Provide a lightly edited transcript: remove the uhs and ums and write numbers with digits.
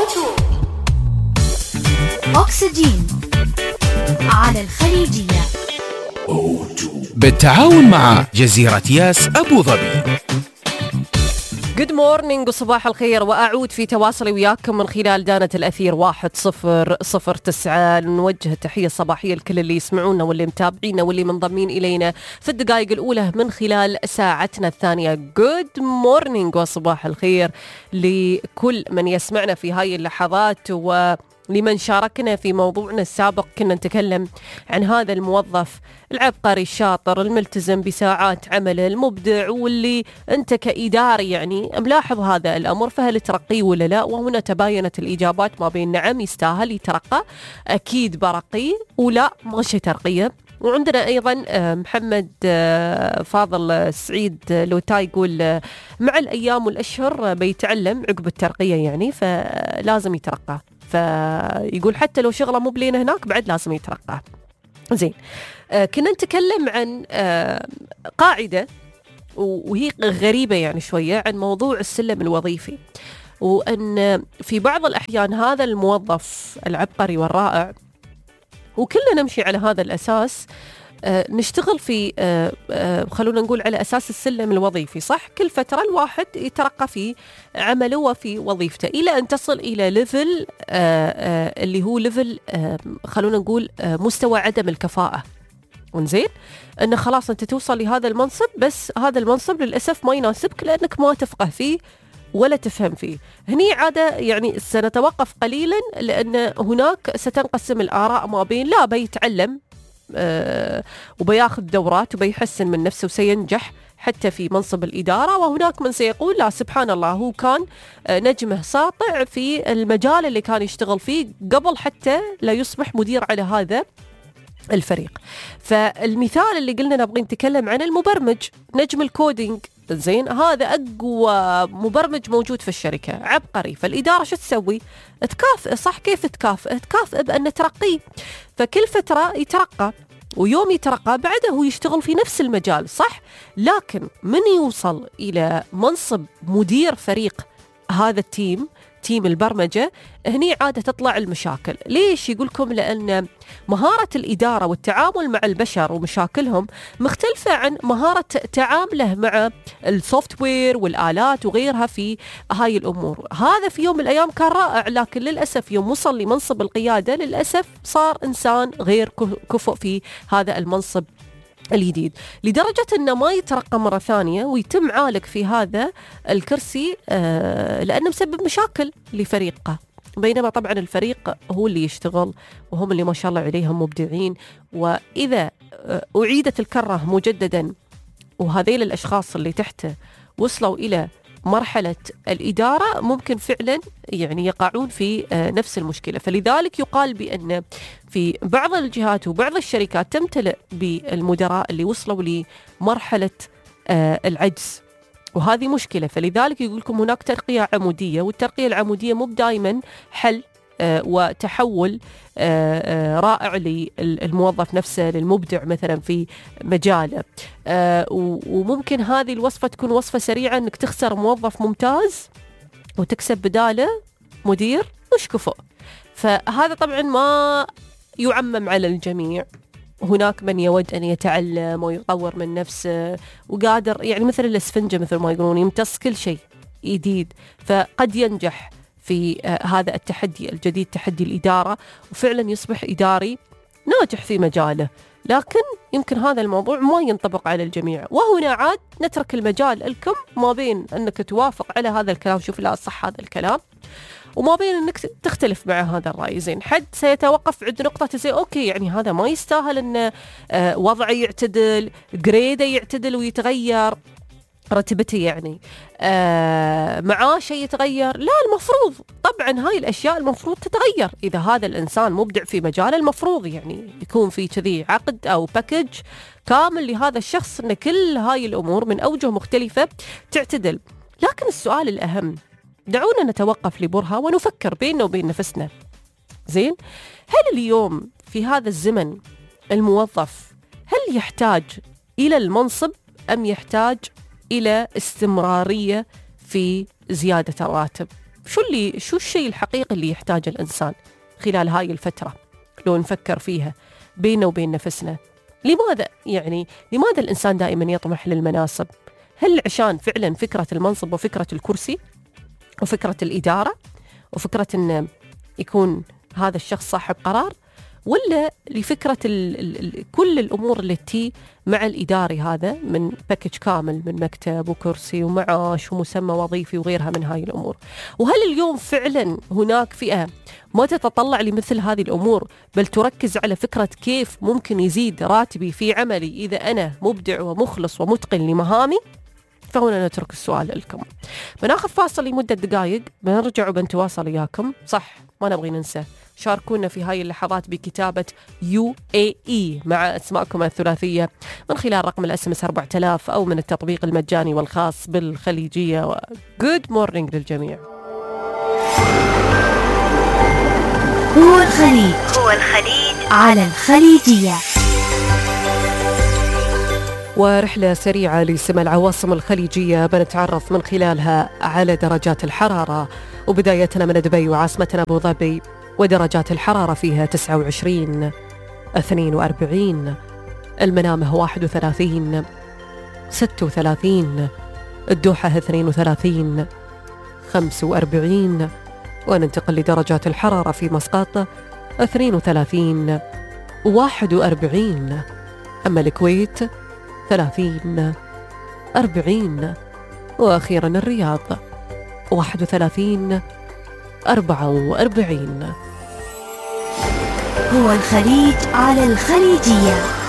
أوتو أكسجين على الخليجية بالتعاون مع جزيرة ياس أبو ظبي. Good morning وصباح الخير، وأعود في تواصلي وياكم من خلال دانة الأثير 1009. نوجه تحية صباحية لكل اللي يسمعونا واللي متابعينا واللي منضمين إلينا في الدقائق الأولى من خلال ساعتنا الثانية. Good morning وصباح الخير لكل من يسمعنا في هاي اللحظات، ولمن شاركنا في موضوعنا السابق. كنا نتكلم عن هذا الموظف العبقري الشاطر الملتزم بساعات عمله المبدع، واللي أنت كإداري يعني ملاحظ هذا الأمر، فهل ترقيه ولا لا؟ وهنا تباينت الإجابات ما بين نعم يستاهل يترقى، أكيد برقيه، ولا ما شي ترقيه. وعندنا أيضا محمد فاضل سعيد لوتاي يقول مع الأيام والأشهر بيتعلم عقب الترقية يعني، فلازم يترقى. فيقول حتى لو شغله مو بلين هناك بعد لازم يترقى. زين، كنا نتكلم عن قاعدة وهي غريبة يعني شوية عن موضوع السلم الوظيفي، وأن في بعض الأحيان هذا الموظف العبقري والرائع وكلنا نمشي على هذا الأساس، نشتغل في خلونا نقول على أساس السلم الوظيفي، صح؟ كل فترة الواحد يترقى في عمله وفي وظيفته إلى أن تصل إلى ليفل اللي هو ليفل خلونا نقول مستوى عدم الكفاءة. ونزين أنه خلاص أنت توصل لهذا المنصب، بس هذا المنصب للأسف ما يناسبك لأنك ما تفقه فيه ولا تفهم فيه. هني عادة يعني سنتوقف قليلا، لأن هناك ستنقسم الآراء ما بين لا بيتعلم وبياخذ دورات وبيحسن من نفسه وسينجح حتى في منصب الإدارة، وهناك من سيقول لا سبحان الله هو كان نجمه ساطع في المجال اللي كان يشتغل فيه قبل حتى لا يصبح مدير على هذا الفريق. فالمثال اللي قلنا نبغي نتكلم عن المبرمج، نجم الكودينج، زين، هذا أقوى مبرمج موجود في الشركة، عبقري. فالإدارة شو تسوي؟ تكافئ، صح؟ كيف تكافئ؟ تكافئ بأن ترقيه، فكل فترة يترقى، ويوم يترقى بعده هو يشتغل في نفس المجال، صح؟ لكن من يوصل إلى منصب مدير فريق هذا التيم، تيم البرمجة، هني عادة تطلع المشاكل. ليش يقولكم؟ لأن مهارة الإدارة والتعامل مع البشر ومشاكلهم مختلفة عن مهارة تعامله مع السوفت وير والآلات وغيرها في هاي الأمور. هذا في يوم من الأيام كان رائع، لكن للأسف يوم وصل لمنصب القيادة للأسف صار إنسان غير كفؤ في هذا المنصب الجديد، لدرجة أنه ما يترقى مرة ثانية ويتم عالق في هذا الكرسي لأنه مسبب مشاكل لفريقه، بينما طبعا الفريق هو اللي يشتغل وهم اللي ما شاء الله عليهم مبدعين. وإذا أعيدت الكرة مجددا وهذيل الأشخاص اللي تحته وصلوا إلى مرحلة الإدارة، ممكن فعلا يعني يقعون في نفس المشكلة. فلذلك يقال بأن في بعض الجهات وبعض الشركات تمتلئ بالمدراء اللي وصلوا لمرحلة العجز، وهذه مشكلة. فلذلك يقول لكم هناك ترقية عمودية، والترقية العمودية مو دائما حل وتحول رائع للموظف نفسه، للمبدع مثلا في مجاله. وممكن هذه الوصفة تكون وصفة سريعة، انك تخسر موظف ممتاز وتكسب بداله مدير مش كفؤ. فهذا طبعا ما يعمم على الجميع، هناك من يود أن يتعلم ويطور من نفسه وقادر يعني مثل الاسفنجة مثل ما يقولون يمتص كل شيء جديد، فقد ينجح في هذا التحدي الجديد، تحدي الإدارة، وفعلا يصبح إداري ناجح في مجاله. لكن يمكن هذا الموضوع ما ينطبق على الجميع، وهنا عاد نترك المجال لكم ما بين أنك توافق على هذا الكلام، شوف لا صح هذا الكلام، وما بين أنك تختلف مع هذا الرأي. زين، حد سيتوقف عند نقطة زي أوكي يعني هذا ما يستاهل أن وضعه يعتدل، جريده يعتدل ويتغير، رتبتي يعني معاشه يتغير. لا، المفروض طبعا هاي الأشياء المفروض تتغير. إذا هذا الإنسان مبدع في مجاله المفروض يعني يكون في كذي عقد أو باكج كامل لهذا الشخص، أن كل هاي الأمور من أوجه مختلفة تعتدل. لكن السؤال الأهم، دعونا نتوقف لبرهة ونفكر بيننا وبين نفسنا. زين، هل اليوم في هذا الزمن الموظف هل يحتاج إلى المنصب أم يحتاج إلى استمرارية في زيادة الراتب؟ شو الشيء الحقيقي اللي يحتاجه الإنسان خلال هاي الفترة لو نفكر فيها بيننا وبين نفسنا. لماذا الإنسان دائما يطمح للمناصب؟ هل عشان فعلا فكرة المنصب وفكرة الكرسي وفكرة الإدارة وفكرة أن يكون هذا الشخص صاحب قرار، ولا لفكرة كل الأمور التي مع الإداري هذا من باكج كامل من مكتب وكرسي ومعاش ومسمى وظيفي وغيرها من هاي الأمور؟ وهل اليوم فعلا هناك فئة ما تتطلع لمثل هذه الأمور، بل تركز على فكرة كيف ممكن يزيد راتبي في عملي إذا أنا مبدع ومخلص ومتقن لمهامي؟ فهنا نترك السؤال لكم. بناخذ فاصل لمدة دقائق، بنرجع وبنتواصل إياكم. صح، ما نبغي ننسى، شاركونا في هاي اللحظات بكتابة UAE مع أسماءكم الثلاثية من خلال رقم الSMS 4000 أو من التطبيق المجاني والخاص بالخليجية. Good morning للجميع. هو الخليج على الخليجية. ورحلة سريعة لسمع العواصم الخليجية بنتعرف من خلالها على درجات الحرارة، وبدايتنا من دبي وعاصمتنا أبو ظبي، ودرجات الحرارة فيها 29 42، المنامة 31 36، الدوحة 32 45، وننتقل لدرجات الحرارة في مسقط 32 41، أما الكويت 30 40، وأخيرا الرياض 31 44. هو الخليج على الخليجية.